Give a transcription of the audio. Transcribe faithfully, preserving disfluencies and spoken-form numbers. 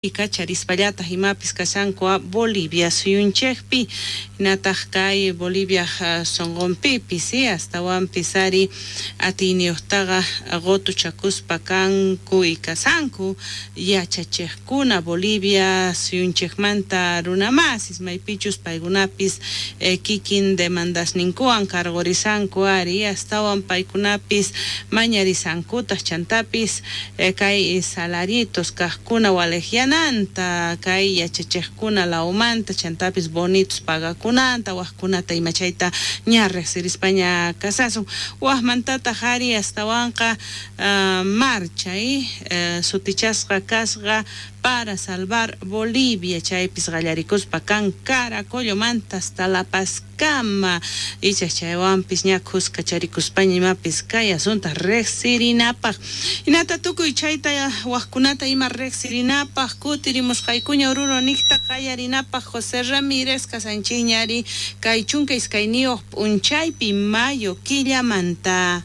Kacharispallataj imapis kashanku Bolivia suyunchejpi, hinataq kay Bolivia sonqonpipis astawanpis ari atiyniyuqtaqa qutuchakuspa kanku y kashanku yachachiqkuna Bolivia suyunchejmanta runamasis maypichus paykunapis kikin demandasninkuwan karqurisanku ari astawan paykunapis mañarisankutaq chantapis kay salaritos kaqkuna waliqyananta kay yachachiqkuna lawmanta chantapis bonitos pagakunanta wajkunata ima chayta ña riqsirispaña kasasun wajmantataq ari astawanqa marcha sutichasqa kasqa para salvar Bolivia chaypis qallarikuspa kan Caracollomanta hasta La Pazkama icha chaywanpis ña khuskacharikuspaña imapis kay asunta riqsirinapaq hinata tukuy chayta wajkunata ima riqsirinapaq kutirimusqaykuña Oruro niqta qallarinapaq José Ramírez kasanchikña ari kay chunka iskayniyuq p'unchaypi mayo killamanta.